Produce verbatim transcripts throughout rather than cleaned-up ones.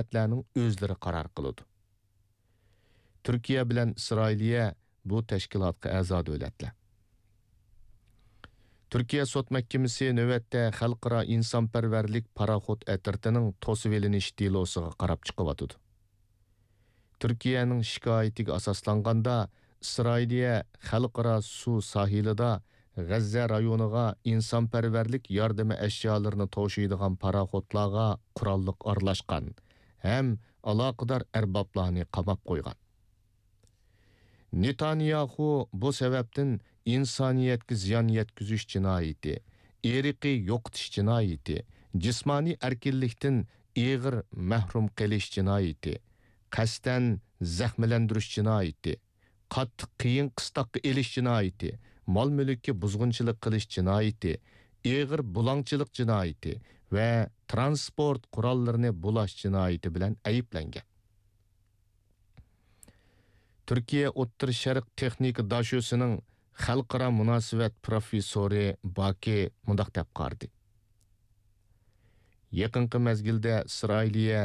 دۆلەتلەرنىڭ ئۆزلىرى قارار قىلىدۇ. تۈركىيە بىلەن ئىسرائىلىيە بۇ تەشكىلاتقا ئەزا دۆلەتلەر. تۈركىيە سوت مەھكىمىسى نۆۋەتتە خەلقئارا ئىنسانپەرۋەرلىك پاراخوت ئەترىتىنىڭ توسۇۋېلىنىش دېلوسىغا قاراپ چىقىۋاتىدۇ. تۈركىيەنىڭ شىكايىتىگە ئاساسلانغاندا، ئىسرائىلىيە خەلقئارا سۇ ساھىلىدا غەززە رايونىغا ئىنسانپەرۋەرلىك ياردىمى ئەشيالىرىنى توشۇيدىغان پاراخوتلارغا قوراللىق ئارىلاشقان ھەم ئالاقىدار ئەربابلارنى قاماپ قويغان. نېتانياخۇ بۇ سەۋەبتىن ئىنسانىيەتكە زىيان يەتكۈزۈش جىنايىتى، ئىرقىي يوقىتىش جىنايىتى، جىسمانىي ئەركىنلىكتىن ئېغىر مەھرۇم قېلىش جىنايىتى، قەستەن زەخىملەندۈرۈش جىنايىتى، قاتتىق قىيىن قىستاققا ئېلىش جىنايىتى، مال-مۈلۈككە بۇزغۇنچىلىق قىلىش جىنايىتى، ئېغىر بۇلاڭچىلىق جىنايىتى ۋە تىرانسپورت قوراللىرىنى بۇلاش جىنايىتى بىلەن ئەيىبلەنگەن. تۈركىيە ئوتتۇرا شەرق تېخنىكا داشۆسىنىڭ خەلقئارا مۇناسىۋەت پروفېسسورى باكى مۇنداق دەپ قارىدى: يېقىنقى مەزگىلدە ئىسرائىلىيە،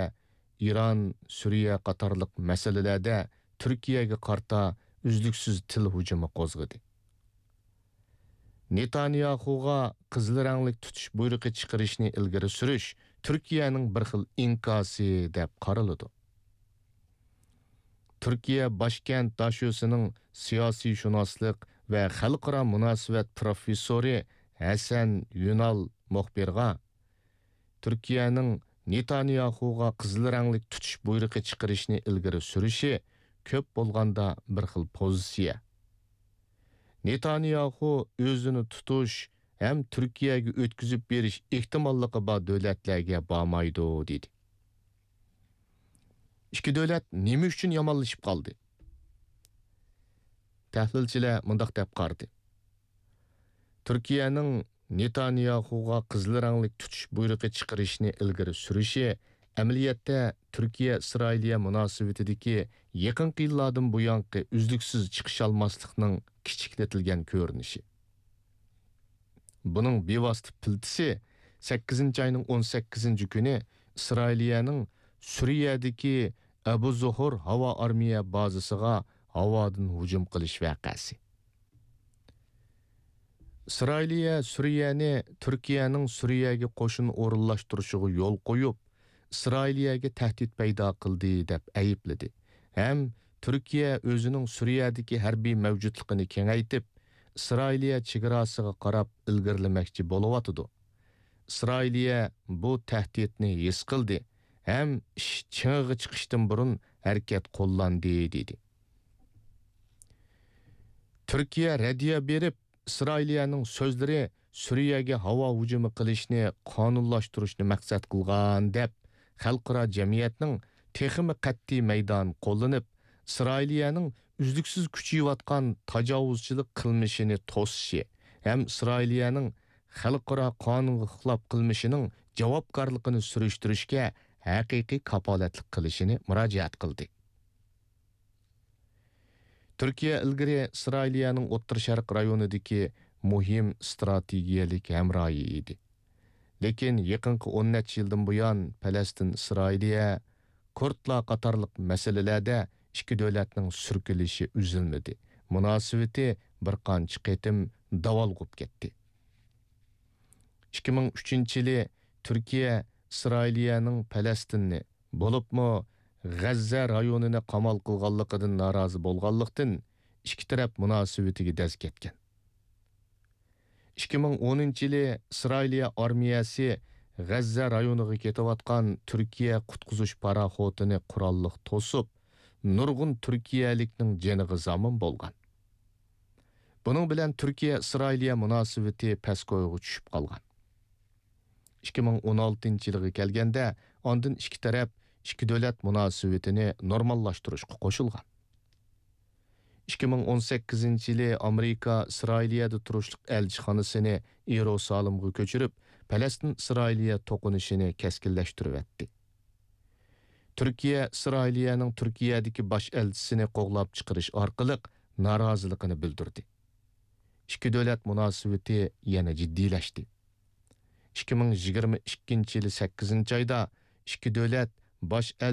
ئىران، سۈرىيە قاتارلىق مەسىلىلەردە تۈركىيەگە قارىتا ئۈزلۈكسىز تىل ھۇجۇمى قوزغىدى. نېتانياخۇغا قىزىل رەڭلىك تۇتۇش بۇيرۇقى چىقىرىشنى ئىلگىرى سۈرۈش تۈركىيەنىڭ بىر خىل ئىنكاسى دەپ قارىلىدۇ. تۈركىيە باشكەنت داشۆسىنىڭ سىياسىيشۇناسلىق ۋە خەلقئارا مۇناسىۋەت پروفېسسورى ھەسەن يۈنال مۇخبىرغا، تۈركىيەنىڭ نېتانياخۇغا قىزىل رەڭلىك تۇتۇش بۇيرۇقى چىقىرىشنى ئىلگىرى سۈرۈشى كۆپ بولغاندا بىر خىل پوزىتسىيە. نېتانياخۇ ئۆزىنى تۇتۇش ھەم تۈركىيەگە ئۆتكۈزۈپ بېرىش ئېھتىماللىقى بار دۆلەتلەرگە بارمايدۇ، دېدى. ئىككى دۆلەت نېمە ئۈچۈن يامانلىشىپ قالدى؟ تەھلىلچىلەر مۇنداق دەپ قارىدى: تۈركىيەنىڭ نېتانياخۇغا قىزىل رەڭلىك تۇتۇش بۇيرۇقى چىقىرىشنى ئىلگىرى سۈرۈشى، ئەمەلىيەتتە تۈركىيە-ئىسرائىلىيە مۇناسىۋىتىدىكى يېقىنقى يىللاردىن بۇيانقى ئۈزلۈكسىز چىقىشالماسلىقنىڭ كىچىكلىتىلگەن كۆرۈنۈشى. بۇنىڭ بىۋاسىتە پىلتىسى سەككىزىنچى ئاينىڭ ئون سەككىزىنچى كۈنى ئىسرائىلىيەنىڭ سۈرىيەدىكى ئەبۇ زۇھۇر ھاۋا ئارمىيە بازىسىغا ھاۋادىن ھۇجۇم قىلىش ۋەقەسى. ئىسرائىلىيە سۈرىيەنى تۈركىيەنىڭ سۈرىيەگە قوشۇن ئورۇنلاشتۇرۇشىغا يول قويۇپ، ئىسرائىلىيەگە تەھدىت پەيدا قىلدى، دەپ ئەيىبلىدى ھەم تۈركىيە ئۆزىنىڭ سۈرىيەدىكى ھەربىي مەۋجۇتلۇقىنى كېڭەيتىپ، ئىسرائىلىيە چېگراسىغا قاراپ ئىلگىرىلىمەكچى بولۇۋاتىدۇ. ئىسرائىلىيە بۇ تەھدىتنى ھېس قىلدى ھەم ئىش چىڭىغا چىقىشتىن بۇرۇن ھەرىكەت قوللاندى، دېدى. تۈركىيە رەددىيە بېرىپ، ئىسرائىلىيەنىڭ سۆزلىرى سۈرىيەگە ھاۋا ھۇجۇمى قىلىشنى قانۇنلاشتۇرۇشنى مەقسەت قىلغان، دەپ، خەلقئارا جەمئىيەتنىڭ تېخىمۇ قەتئىي مەيدان قوللىنىپ، ئىسرائىلىيەنىڭ ئۈزلۈكسىز كۈچىيىۋاتقان تاجاۋۇزچىلىق قىلمىشىنى توسۇشى ھەم ئىسرائىلىيەنىڭ خەلقئارا قانۇنغا خىلاپ قىلمىشىنىڭ جاۋابكارلىقىنى سۈرۈشتۈرۈشكە ھەقىقىي كاپالەتلىك قىلىشىنى مۇراجىئەت قىلدى. تۈركىيە ئىلگىرى ئىسرائىلىيەنىڭ ئوتتۇرا شەرق رايونىدىكى مۇھىم ئىستراتېگىيەلىك ھەمراھى ئىدى. لېكىن يېقىنقى ئون نەچچە يىلدىن بۇيان پەلەستىن ئىسرائىلىيە، كۇردلار قاتارلىق مەسىلىلەردە ئىككى دۆلەتنىڭ سۈركىلىشى ئۈزۈلمىدى، مۇناسىۋىتى بىر قانچە قېتىم داۋالغۇپ كەتتى. ئىككى مىڭ ئۈچىنچى يىلى تۈركىيە ئىسرائىلىيەنىڭ پەلەستىننى، بولۇپمۇ غەززە رايونىنى قامال قىلغانلىقىدىن نارازى بولغانلىقتىن، ئىككى تەرەپ مۇناسىۋىتىگە دەز كەتكەن. ئىككى مىڭ ئونىنچى يىلى ئىسرائىلىيە ئارمىيەسى غەززە رايونىغا كېتىۋاتقان تۈركىيە قۇتقۇزۇش پاراخوتىنى قوراللىق توسۇپ، نۇرغۇن تۈركىيەلىكنىڭ جېنىغا زامىن بولغان. بۇنىڭ بىلەن تۈركىيە-ئىسرائىلىيە مۇناسىۋىتى پەسكويغا چۈشۈپ قالغان. ئىككى مىڭ ئون ئالتىنچى يىلغا كەلگەندە، ئاندىن ئىككى تەرەپ ئىككى دۆلەت مۇناسىۋىتىنى نورماللاشتۇرۇشقا قوشۇلغان. ئىككى مىڭ ئون سەككىزىنچى يىلى ئامېرىكا ئىسرائىلىيەدە تۇرۇشلۇق ئەلچىخانىسىنى يېرۇسالىمغا كۆچۈرۈپ، پەلەستىن-ئىسرائىلىيە توقۇنۇشىنى كەسكىنلەشتۈرۈۋەتتى. تۈركىيە ئىسرائىلىيەنىڭ تۈركىيەدىكى باش ئەلچىسىنى قوغلاپ چىقىرىش ئارقىلىق نارازىلىقىنى بىلدۈردى. ئىككى دۆلەت مۇناسىۋىتى يەنە جىددىيلەشتى. ئىككى مىڭ يىگىرمە ئىككىنچى يىلى سەككىزىنچى ئايدا ئىككى دۆلەت باش